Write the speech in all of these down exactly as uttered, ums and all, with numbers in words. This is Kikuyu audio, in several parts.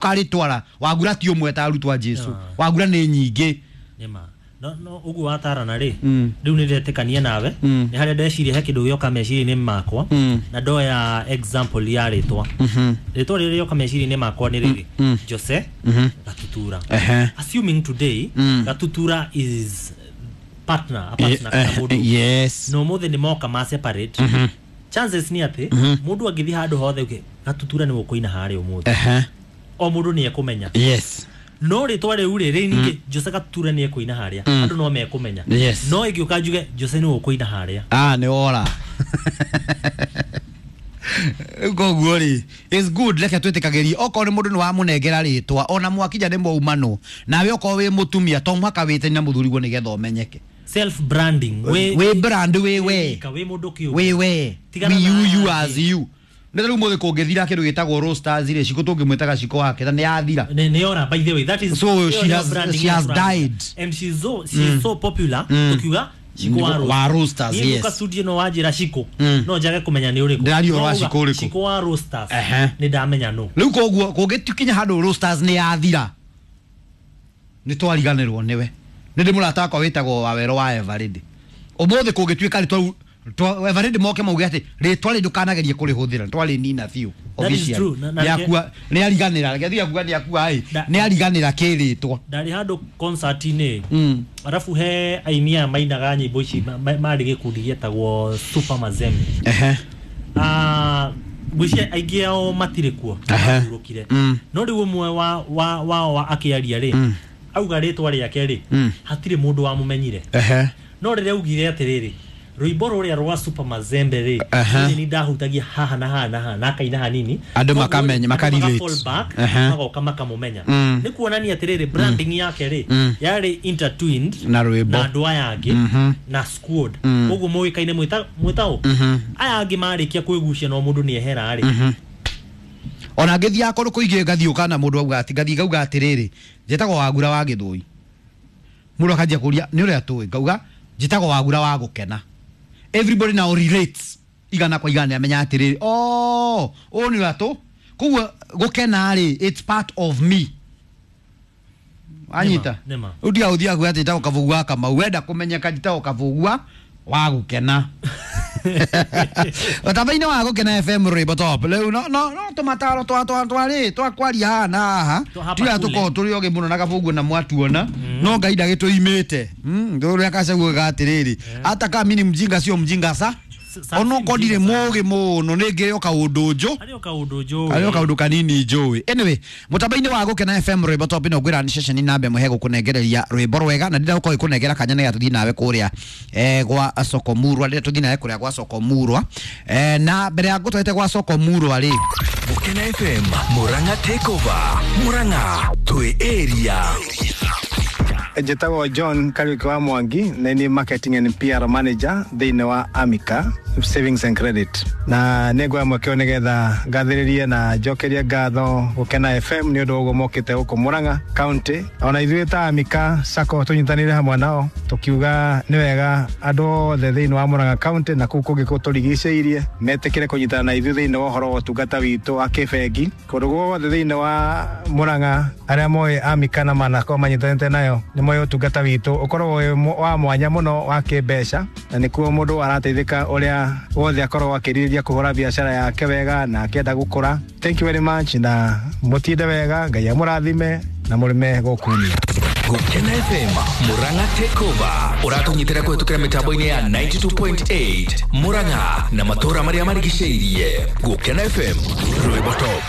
Ũkarĩtwara wagura ti ũmwe ta arutwo a Jesu, wagura nĩ nyingĩ. Nĩma no no ũguo watarana rĩ, Mm. rĩu nĩ ndetĩkania nawe. Mm. Nĩ harĩa ndeciria he kĩndũ gĩoka meciria-inĩ makwa Mm. na ndoya example ya rĩtwa. Mhm. Rĩtwa rĩrĩa rĩoka meciria-inĩ makwa nĩ rĩrĩ, Mm. Jose Mhm. Gatutura. Ehe. Assuming today Mm. Gatutura is partner, a partner kana Eh, mũndũ, yes na ũmũthĩ nĩ moka ma separate, chances nĩ atĩ mũndũ angĩthiĩ handũ hothe uge Gatutura nĩ ũkũina harĩa ũmũthĩ, Ehe. o mũndũ nĩ ekũmenya. Yes no rĩtwa rĩu rĩ rĩ ningĩ Jose Gatutura nĩ ekũina harĩa, andũ no mekũmenya. Yes. No ĩngĩũka njuge Jose nĩ ũkũina harĩa, ah nĩ wora. Rĩu koguo rĩ, it's good, reke twĩtĩkagĩrie okorwo nĩ mũndũ nĩ wamũnengera rĩtwa ona mwakinya nĩ mwaumanwo nawe, okorwo wĩ mũtumia to mũhaka wĩtani na mũthuriguo nĩgetha ũmenyeke. Self branding. Wĩ brand wĩ we. Wĩ mũndũ kĩũmbe. Wĩ we. Tigana we na you you aya as angĩ. you. Nĩ rĩu mũthĩ kũngĩthira kĩndũ gĩtagwo roasters rĩ, Ciko tũngĩmwĩtaga Ciko wake na nĩ yathira. Nĩ nĩ ora, by the way, that is So ĩyo she nĩyo has- branding she ya has brand. died. And she's so she's so popular, tukiuga Ciko wa Wa Roasters, Niĩ yes. ngũka studio no wanjĩra Ciko, Mm. no njage kũmenya nĩ ũrĩkũ. Ndĩraria ũhoro wa No uga, Ciko ũrĩkũ? Ciko wa Roasters, Ehe. nĩ ndamenya no. Rĩu koguo kũngĩkinya handũ roasters nĩ yathira, nĩ twariganĩrwo nĩwe. Nĩ ndĩ mũrata wakwa wĩtagwo Wawero wa Eveready. Ũmũthĩ kũngĩtuĩka rĩtwa rĩu Eveready moke mauge atĩ rĩtwa rĩ ndũkanagerie kũrĩhũthĩra, twarĩnina biũ. That is Officially. true. Na- na- Nĩakua, nĩariganĩra, reke thiĩ akuga nĩakua ĩ, Da- nĩariganĩra kĩrĩtwa. Ndarĩ handũ concert-inĩ, Mm. arabu he aini aya mainaga nyĩmbo ici ma- ma- marĩ gĩkundi gĩetagwo Super Mazembe. Ehe. Ah, ngwĩciria aingĩ ao matirĩ kuo, Ehe. mahurũkire. Mm. No rĩu ũmwe wa wa wao wa akĩaria rĩ, auga rĩtwa rĩake rĩ, Mm. hatirĩ mũndũ wamũmenyire. Ehe. No rĩrĩa augire atĩrĩrĩ, rwĩmbo rũrĩa rwa Super Mazembe rĩ, Aha. niĩ nĩ ndahutagia haha na haha na haha na akaina hanini. Andũ Koguo makamenya, andũ makarelate. maka fall back, Aha. magoka makamũmenya. Mm. Nĩ kuonania atĩrĩrĩ, branding yake rĩ, Mm. yarĩ intertwined na rwĩmbo. Na andũ aya angĩ Mhm. na squad. Mm. Koguo mũĩkaine mwĩta mwĩtaũ Mhm. aya angĩ marĩkia kwĩgucia no mũndũ nĩ ehera rĩ. Ona ngĩthiaga kũndũ kũingĩ ngathiĩ ũkana mũndũ auga atĩ ngathiĩ ngauga atĩrĩrĩ, njĩtagwo Wagura wa Gĩthũi, mũndũ akanjia kũria nĩ ũrĩa tũĩ, ngauga njĩtagwo Wagura wa Gũkena. Everybody now relates igana kwa igana, nĩamenya atĩrĩrĩ, oh, ũyũ nĩ ũrĩa tũ koguo gũkena rĩ, it's part of me, anyita. Nĩma, nĩma. Rĩu tiga gũthiaga kuga atĩ njĩtagwo Kabugu wa Kamau, wenda kũmenyeka njĩtagwo Kabugua wa Gũkena ũtamba-inĩ wa Gũkena F M, rwĩmbo top. Rĩu no no no tũmataro twa twa twa rĩ twa kwaria haha na haha. Twa hapa tiga kule. tũkorwo tũrĩ ogĩ mũno na Kabugu na mwatuona no Ngai ndagĩtũimĩte ũrĩa kacaguaga atĩrĩrĩ, hata kama mimi ni mjinga sio mjinga sa S- sa- onokorwo si ndirĩ mjinga sana. mũgĩ mũno nĩ ngĩrĩ o kaũndũ njũ Harĩ o kaũndũ njũĩ. arĩ o kaũndũ kanini njũĩ. Anyway, mũtambo-inĩ wa Gũkena F M, rwĩmbo top, no ngwĩra nĩ ceceni namba ĩmwe hegũkũnengereria rwĩmbo rwega na ndĩrenda gũkorwo ĩkũnengera kanya nĩgetha tũthiĩ nawe kũrĩa eh, gwa Soko Murwa, ndĩrenda tũthiĩ nawe kũrĩa gwa Soko Murwa. eh, na mbere ya ngũtwarĩte gwa Soko Murwa rĩ, Gukena F M Murang'a Takeover, Murang'a twi area. Njĩtagwo John Kariuki wa Mwangi na nĩ marketing and P R manager thĩinĩ wa Amica Savings and Credit, na nĩ nguoya mweke ũyũ nĩgetha ngathĩrĩrie na njokerie ngatho Gũkena F M nĩ ũndũ wa ũguo mokĩte gũkũ Murang'a County. Ona ithuĩ ta Amica Sacco tũnyitanĩire hamwe nao tũkiuga nĩ wega andũ othe thĩinĩ wa Murang'a County na kũu kũngĩ kũtũrigicĩirie metĩkĩre kũnyitana na ithuĩ thĩinĩ wa ũhoro wa ũtungata witũ wa kĩbengi kũndũ guothe thĩinĩ wa Murang'a. Arĩa moĩ Amica na manakorwo manyitanĩte nayo nĩ moĩ ũtungata witũ ũkoragwo wĩ mũ- wa mwanya mũno wa kĩmbeca, na nĩkuo mũndũ arateithĩka ũrĩa wothe akoragwo akĩrirĩria kũhũra biacara yake wega na akĩenda gũkũra. Thank you very much na mũtinde wega, Ngai amũrathime na mũrĩme gũkunia. Gukena F M Murang'a Takeover ũratũnyitĩra kũhetũkĩra mĩtambo-inĩ ya ninety-two point eight Murang'a na matũũra marĩa marigicĩirie. Gukena F M, rwĩmbo top.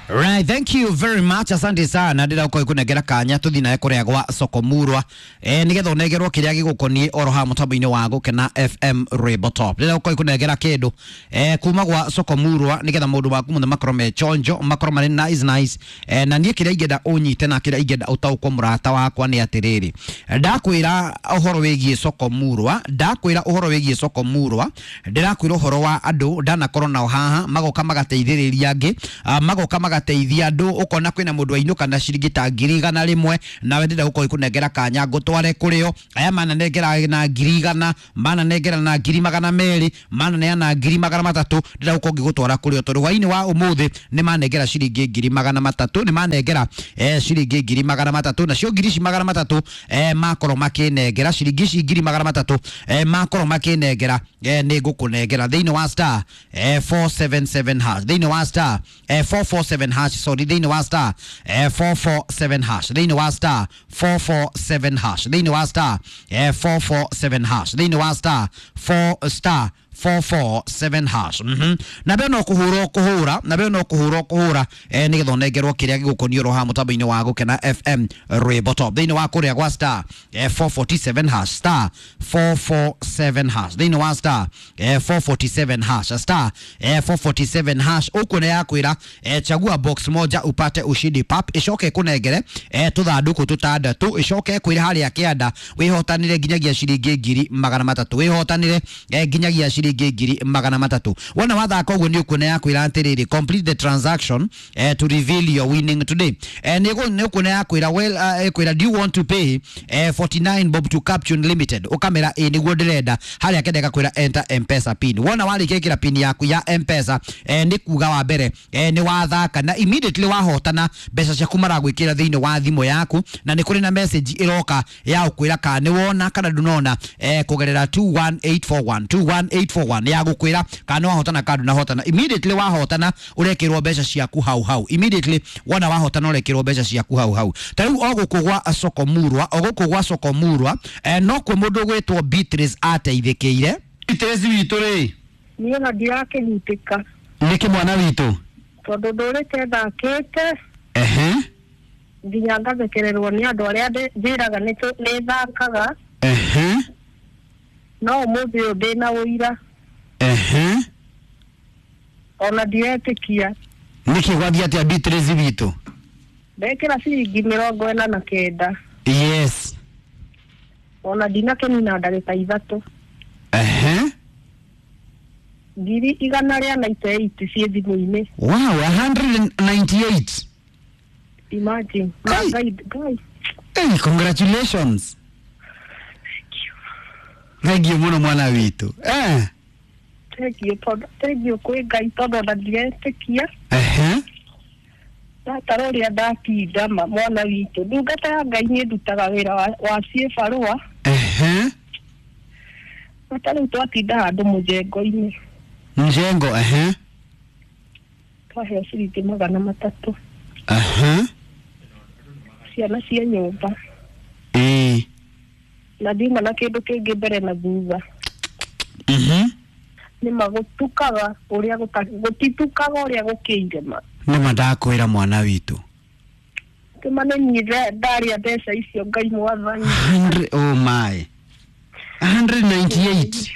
Right, thank you very much. Asante sana. Ndĩra gũkorwo ĩkũnengera kanya tũthiĩ nawe kũrĩa gwa Soko Murwa. Eh, nĩgetha ũnengerwo kĩrĩa gĩgũkoniĩ oro haha mũtambo-inĩ wa Gũkena F M, rwĩmbo top. Ndĩra gũkorwo ĩkũnengera kĩndũ eh, kuma gwa Soko Murwa nĩgetha maũndũ maku mothe makorwo me chonjo, makorwo marĩ nice nice. Eh, na niĩ kĩrĩa ingĩenda ũnyite na kĩrĩa ingĩenda ũtaũkwo mũrata wakwa nĩ atĩrĩrĩ. Ndakwĩra ũhoro wĩgiĩ Soko Murwa, ndakwĩra ũhoro wĩgiĩ Soko Murwa, ndĩrakwĩra ũhoro wa andũ ndanakorwo nao haha magoka magateithĩrĩria angĩ, ah, magoka magateithĩrĩria ĩgateithia andũ ũkona kwĩna mũndũ ainũka na ciringi ta ngiri igana rĩmwe nawe ndĩrenda gũkorwo ikũnengera kanya ngũtware kũrĩo aya mananengera na ngiri igana mananengera na ngiri magana merĩ mananeana ngiri magana matatũ ndĩrenda gũkorwo ngĩgũtwara kũrĩo tondũ hwainĩ wa ũmũthĩ nĩ manengera ciringi ngiri magana matatũ nĩ manengera eh, ciringi ngiri magana matatũ nacio ngiri ici magana matatũ eh, makorwo makĩnengera ciringi ici ngiri magana matatũ eh, makorwo makĩnengera eh, nĩ ngũkũnengera thĩinĩ wa star eh, four seven seven hash thĩinĩ wa star eh, four four seven hash sorry thĩinĩ wa star eh, four four seven hash thĩinĩ wa star four four seven hash thĩinĩ wa star eh, four four seven hash thĩinĩ wa star four star four four seven hash mhm na mbere no kũhũra kũhũra na mbere no kũhũra kũhũra eh, nĩgetha ũnengerwo kĩrĩa gĩgũkoniĩ oro haha mũtambo-inĩ wa Gũkena F M Rwĩmbo Top thĩinĩ wa kũrĩa gwa star eh, four forty-seven hash star four four seven hash thĩinĩ wa star eh, four forty-seven hash star eh, four forty-seven hash ũkuona yakwĩra eh, chagua box moja upate ushindi pap ĩcoke ĩkũnengere eh, tũthandũkũ tũtandatũ ĩcoke ĩkwĩre harĩa kĩanda wĩhotanĩre nginyagia ciringi ngiri magana matatũ wĩhotanĩre eh, nginyagia ciringi ngiri magana matatũ wona wathaka ũguo nĩ ũkuona yakwĩra atĩrĩrĩ complete the transaction eh, to reveal your winning today eh, nĩ ũkuona yakwĩra well uh, ĩkwĩra do you want to pay eh, forty-nine bob to Captune Limited ũkamera ĩ nĩguo ndĩrenda harĩa kenda ĩgakwĩra enter Mpesa pin wona warĩkia ĩkĩra pin yaku ya Mpesa eh, nĩ kuga wa mbere eh, nĩ wathaka na immediately wahotana mbeca ciaku maragwĩkĩra thĩinĩ wa thimũ yaku na nĩ kũrĩ na message ĩroka ya gũkwĩra kana nĩ wona kana ndũnona eh, kũgerera two one eight four one two one eight four one ya gũkwĩra kana nĩ wahotana kana ndũnahotana immediately wahotana ũrekĩrwo mbeca ciaku hau hau immediately wona wahotana ũrekĩrwo mbeca ciaku hau hau ta rĩu o gũkũ gwa soko murwa o gũkũ gwa soko murwa eh, no kuo mũndũ ũgwĩtwo Beatrice ateithĩkĩire Beatrice witũ rĩ niĩ ona ndirakĩhutĩka nĩkĩ mwana witũ tondũ ndũrĩte thakĩte ehe nginya ngathekererwo nĩ andũ arĩa njĩraga nĩ thakaga ehe no ũmũthĩ ũyũ ndĩna ũira ehe ona ndiretĩkia nĩkĩ gwathiĩ atĩa Beatrice witũ ndekĩra ciringi mĩrongo ĩna na kenda yes ona ndinakĩnina ndagĩka ithatũ ehe ngiri igana rĩa ninety eight ciĩ thimũ-inĩ wow a hundred ninety eight imagine Kai. Ngai Ngai hey, congratulations thank you mũno mwana witũ eh thank you tondũ thank you kwĩ Ngai tondũ ona ndiretĩkia ehe ndatara ũrĩa ndatinda ma mwana witũ ndungata ya Ngai nĩ ndutaga wĩra wa, wa ciĩbarũa ehe na rĩu twatinda handũ mũjengo-inĩ mjengo ehe twaheo ciringi magana matatũ ehe ciana cia nyũmba ĩĩ na ndiuma na kĩndũ kĩngĩ mbere na thutha mhm nĩma gũtukaga ũrĩa gũtitukaga ũrĩa gũkĩire ma nĩma ndakwĩra mwana witũ kĩma nĩ niĩ ndarĩa mbeca icio Ngai mwathani oh my a hundred ninety eight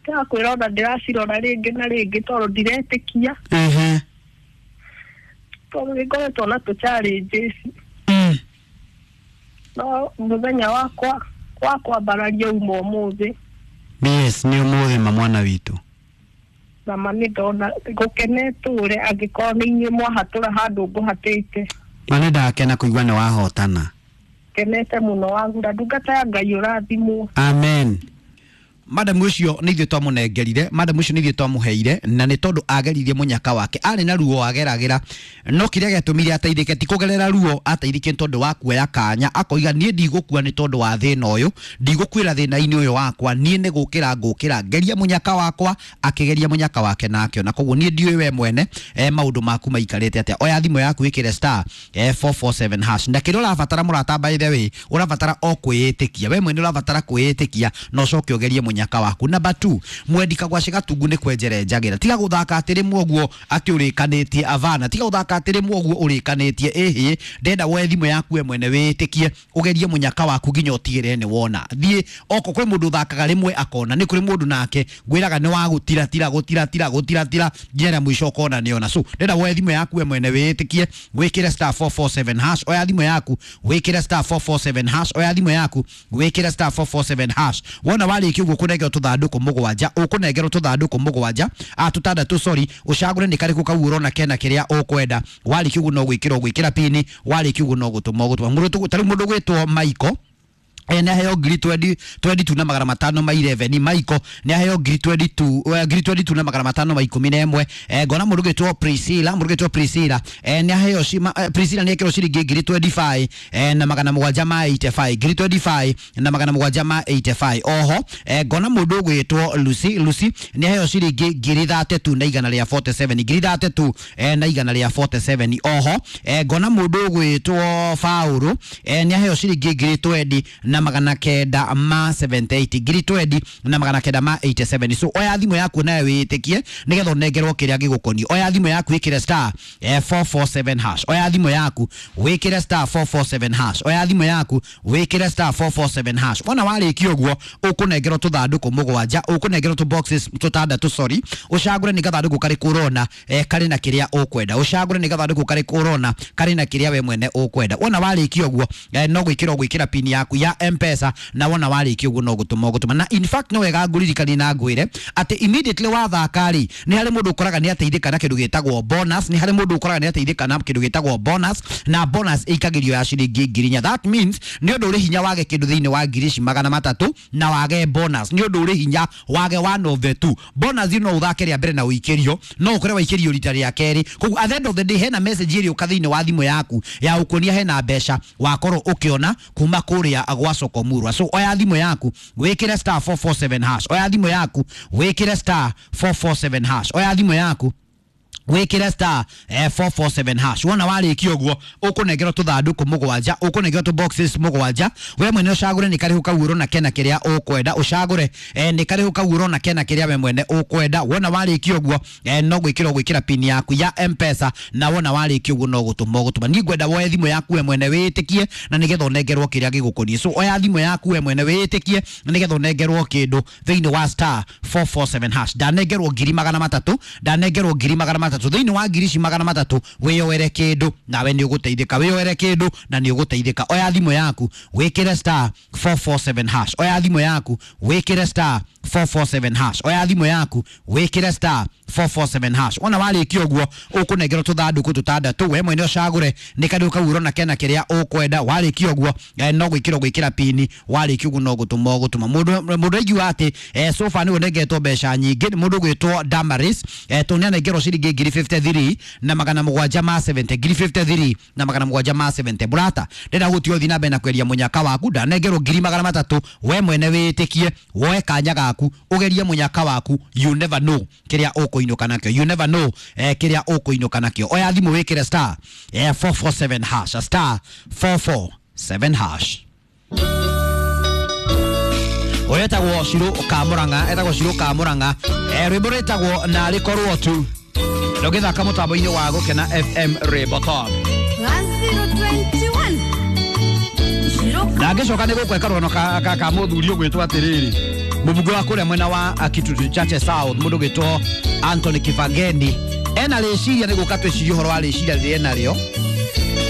ndakwĩra ona ndĩracirora rĩngĩ na rĩngĩ tondũ ndiretĩkia ehe tondũ nĩngoretwo na tũ challenges mm. no mũthenya wakwa wa kwambararia uma ũmũthĩ yes nĩ ũmũthĩ ma mwana witũ na ma nĩ ndona ngũkene tũre angĩkorwo nĩ inyuĩ mwahatũra handũ ngũhatĩte ma nĩ ndakena kũigua nĩ wahotana kenete mũno wagura ndungata ya Ngai ũrathimwo amen madam ũcio nĩ ithuĩ twamũnengerire madam ũcio nĩ ithuĩ twamũheire na nĩ tondũ ageririe mũnyaka wake arĩ na ruo ageragĩra no kĩrĩa gĩatũmire ateithĩke ti kũgerera ruo ateithĩke nĩ tondũ wa kuoya kanya akoiga niĩ ndigũkua nĩ tondũ wa thĩna ũyũ ndigũkuĩra thĩna-inĩ ũyũ wakwa niĩ nĩ gũkĩra ngũkĩra ngeria mũnyaka wakwa akĩgeria mũnyaka wake na akĩona koguo niĩ ndiũĩ we mwene eh, maũndũ maku maikarĩte atĩa oya thimũ yaku ĩkĩre star eh, four four seven hash na kĩrĩa ũrabatara mũrata by the way ũrabatara o kwĩĩtĩkia we mwene ũrabatara kwĩĩtĩkia na ũcoke ũgerie mũnyaka waku number two mwendi kagwaci gatungu nĩ kwenjere njagĩra tiga gũthaka atĩ rĩmwe ũguo atĩ ũrĩkanĩtie avana tiga gũthaka atĩ rĩmwe ũguo ũrĩkanĩtie ĩhĩ ndenda woe thimũ yaku we mwene wĩĩtĩkie ũgerie mũnyaka waku nginya ũtigĩrĩre nĩ wona thiĩ oko kwĩ mũndũ ũthakaga rĩmwe akona nĩ kũrĩ mũndũ nake ngwĩraga nĩ wa gũtiratira gũtiratira gũtiratira nginya rĩa mũico ũkona nĩona so ndenda woe thimũ yaku we mwene wĩĩtĩkie wĩkĩre star four four seven hash oya thimũ yaku wĩkĩre star four four seven hash oya thimũ yaku wĩkĩre star four four seven hash wona warĩkia ũguo ũkũnengerwo tũthandũkũ mũgwanja, ũkũnengerwo tũthandũkũ mũgwanja, a tũtandatũ sorry, ũcagũre nĩ karĩkũ kau ũrona kena kĩrĩa ũkwenda. Warĩkia ũguo no gwĩkĩra ũgwĩkĩra pini, warĩkia ũguo no gũtũma ũgũtũma. Mũndũ tarĩu mũndũ ũgwĩtwo Michael eh nĩ aheo ngiri twenty two na magana matano ma eleven. Michael nĩ aheo ngiri twenty two ngiri twenty two na magana matano ma ikũmi na ĩmwe. Eh ngona mũndũ ũgwĩtwo Priscilla, mũndũ ũgwĩtwo Priscilla eh nĩ aheo eh, Priscilla nĩ ekĩrwo ciringi ngiri twenty five eh na magana mũgwanja ma eighty five, ngiri twenty five na magana mũgwanja ma eighty five. Oho eh ngona mũndũ ũgwĩtwo Lucy, Lucy nĩ aheo ciringi ngiri thirty two na igana rĩa forty seven, ngiri thirty two eh na igana rĩa forty seven. Oho eh ngona mũndũ ũgwĩtwo Faulu eh nĩ aheo ciringi ngiri twenty na magana kenda ma seventy eight, ngiri twenty na magana kenda ma eighty seven. So oya thimũ yaku nayo wĩtĩkie nĩgetha ũnengerwo kĩrĩa gĩgũkoniĩ. Oya thimũ yaku wĩkĩre star eh, four four seven hash. Oya thimũ yaku wĩkĩre star four four seven hash. Oya thimũ yaku wĩkĩre star four four seven hash. Wona warĩkia ũguo ũkũnengerwo tũthandũkũ mũgwanja, ũkũnengerwo tũ boxes tũtandatũ sorry, ũcagũre nĩ gathandũkũ karĩkũ ũrona eh, karĩ na kĩrĩa ũkwenda. Ũcagũre nĩ gathandũkũ karĩkũ ũrona karĩ na kĩrĩa we mwene ũkwenda. Wona warĩkia ũguo eh, no gwĩkĩra ũgwĩkĩra pini yaku ya M-Pesa, na wona warĩkia ũguo no gũtũma ũgũtũma. Na in fact no wega ngũririkanie na ngwĩre atĩ immediately wathaka rĩ, nĩ harĩ mũndũ ũkoraga nĩ ateithĩka na kĩndũ gĩtagwo bonus, nĩ harĩ mũndũ ũkoraga nĩ ateithĩka na kĩndũ gĩtagwo bonus, na bonus ĩikagĩrio ya ciringi ngiri inya. That means nĩ ũndũ ũrĩ hinya wage kĩndũ thĩinĩ wa ngiri ici magana matatũ na wage bonus. Nĩ ũndũ ũrĩ hinya wage one of the two bonus. No ũthake rĩa mbere na ũikĩrio, no ũkore waikĩrio rita rĩa kerĩ. Koguo at the end of the day hena message ĩrĩũka thĩinĩ wa thimũ yaku ya ũkuonia hena mbeca wakorwo ũkĩona kuma kũrĩa gwa Soko Murwa. So oya thimũ yaku wĩkĩre star four four seven hash. Oya thimũ yaku wĩkĩre star four four seven hash. Oya thimũ yaku wĩkĩre star eh, four four seven hash. Wona warĩkia ũguo ũkũnengerwo tũthandũkũ mũgwanja, ũkũnengerwo tũ boxes mũgwanja. We mwene ũcagũre nĩ karĩhũ kau ũrona kena kĩrĩa ũkwenda. Ũcagũre eh, nĩ karĩhũ kau ũrona kena kĩrĩa we mwene ũkwenda. Wona warĩkia ũguo eh, no gwĩkĩra ũgwĩkĩra pini yaku ya M-Pesa, na wona warĩkia ũguo no gũtũma ũgũtũma. Niĩ ngwenda woe thimũ yaku we mwene wĩtĩkie na nĩgetha ũnengerwo kĩrĩa gĩgũkoniĩ. So oya thimũ yaku we mwene wĩtĩkie na nĩgetha ũnengerwo kĩndũ thĩinĩ wa star four four seven hash. Ndanengerwo ngiri magana matatũ, ndanengerwo ngiri magana matatũ thĩinĩ wa ngiri ici magana matatũ, wĩyoere kĩndũ nawe nĩ ũgũteithĩka. Wĩyoere kĩndũ na nĩ ũgũteithĩka. Oya thimũ yaku wĩkĩre star four four seven hash. Oya thimũ yaku wĩkĩre star four four seven hash. Oya thimũ yaku wĩkĩre star four four seven hash. Wona warĩkia ũguo ũkũnengerwo tũthandũkũ tũtandatũ, we mwene ũcagũre nĩ karĩũ kau ũrona kena kĩrĩa ũkwenda. Warĩkia ũguo eh, no gwĩkĩra ũgwĩkĩra pini, warĩkia ũguo no gũtũma ũgũtũma. Mũndũ mũndũ aigua atĩ eh, so far nĩwe ũnengetwo mbeca nyingĩ nĩ mũndũ ũgwĩtwo Damaris eh, tondũ nĩ anengerwo ciringi ngiri fifty three na magana mũgwanja ma seventy, ngiri fifty three na magana mũgwanja ma seventy. Mũrata, ndĩrenda gũtiga ũthiĩ na mbere na kweria mũnyaka waku. Ndanengerwo ngiri magana matatũ, we mwene wĩtĩkie, woe kanya gaku ũgerie mũnyaka waku. You never know kĩrĩa ũkũinũka nakĩo, you never know eh, kĩrĩa ũkũinũka nakĩo. Oya thimũ wĩkĩre star eh, four four seven hash, star four four seven hash. Ũyũ etagwo Shiro Kamũrang'a, etagwo Shiro Kamũrang'a, eh, rwĩmbo rwĩtagwo narĩ korwo tu. Ndũgĩthaka mũtambo-inĩ wa Gũkena F M Rainbow Top. Na ngĩcoka nĩ gũkweka rwano ka, ka, ka mũthuri ũgwĩtwo atĩrĩrĩ, mũbunge wa kũrĩa mwena wa Kitutu Chache South, mũndũ ũgwĩtwo Anthony Kibangeni ena rĩciria nĩ gũka twĩcirie ũhoro wa rĩciria rĩrĩa enarĩo.